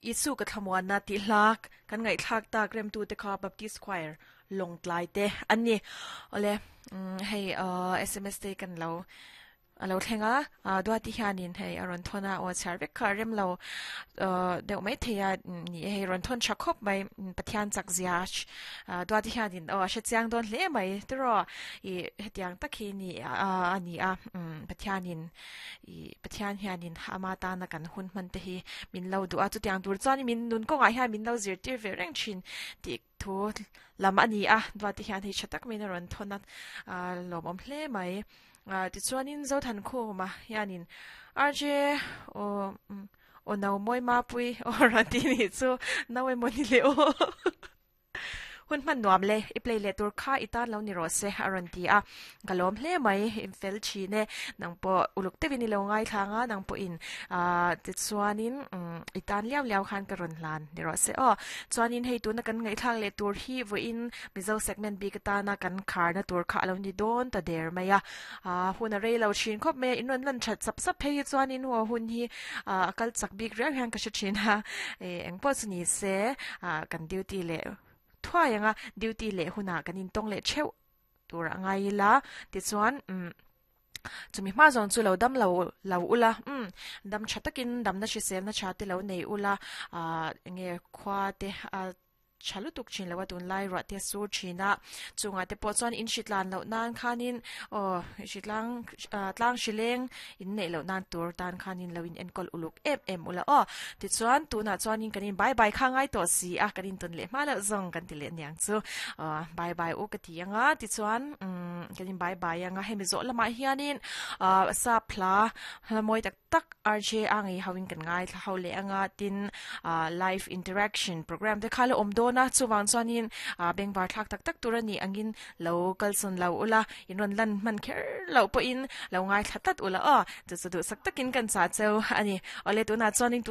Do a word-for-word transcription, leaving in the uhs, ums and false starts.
Isu ka thlamuan na ti hlak kan ngai thlak tak rem tu te kha Baptist Choir long tlai te ani ole hei S M S te kan lo alo thlenga duati hianin hei aron thona o char vek kha rem lo deuh mai theia ni. Hei ron thon tha khop mai, Pathian chak zia duati hianin o hre chiang don hle mai tro i hetiang takhi ni ani a. Pathianin i Pathian hianin ama ta na kan hun man te hi min lo du a, chu tiang tur chuan min nun ko ngai hian min lo zir tir ve reng thin ti thu lam ani a. Duati hian hei thatak min ron thona lom om hle mai. Ti chuanin zo than khu ma hianin R J o o no moi ma pui o ran ti ni chu nawe moni le o hun man nuam le i play le tur kha itan lo ni ro se aron ti a, galom hle mai. In fel chi ne, nang po uluk te vini lo ngai thanga nang po in a ti chuanin itan liao liao khan ka ron hlan ni ro se o. Chuanin hei tu na kan ngai thang le tur hi vo in Mizo segment bi ka ta na kan khar na tur kha lo ni don ta der maya a. Hun a rei lo chin khop me, in ron lan that sap sap hei chuanin ho hun hi a kal chak bik riau hian ka hre thin ha. E eng po chu ni se, a kan duty le thuai anga, duty le huna kanin tong le cheu tur angai la. Ti chuan um chumi hma zawng chu lo dam lo lo ula, um dam tha takin dam na hrisel na tha te lo nei ula. A enge khwa te a chalu tuk chin lawa tun lai ra te sur thina chunga te pawh chuan in hritlan loh nan khanin o hritlang tlang hrileng in neih loh nan tur tan khanin lo in enkawl uluk em em ula aw. Tichuan tunah chuanin kanin bye bye kha ngai tawh si a, kanin tawn leh hma loh zawng kan ti leh niang chu. Bye bye u ka ti anga, tichuan um kanin bye bye anga. Hemi zawh lamah hianin sa phla mawi tak tak R J a ngei hoin kan ngai thla ho leh anga, tin live interaction program te kha lo awm dawn a. Chuwang chuanin bengvar thlak tak tak tur ani angin lo kalsawn lo ula, in rawn lan hman kher lo pawhin lo ngai thla tlat ula aw. Chu chu duh sak takin kan cha cheu ani. Awle, tunah chuanin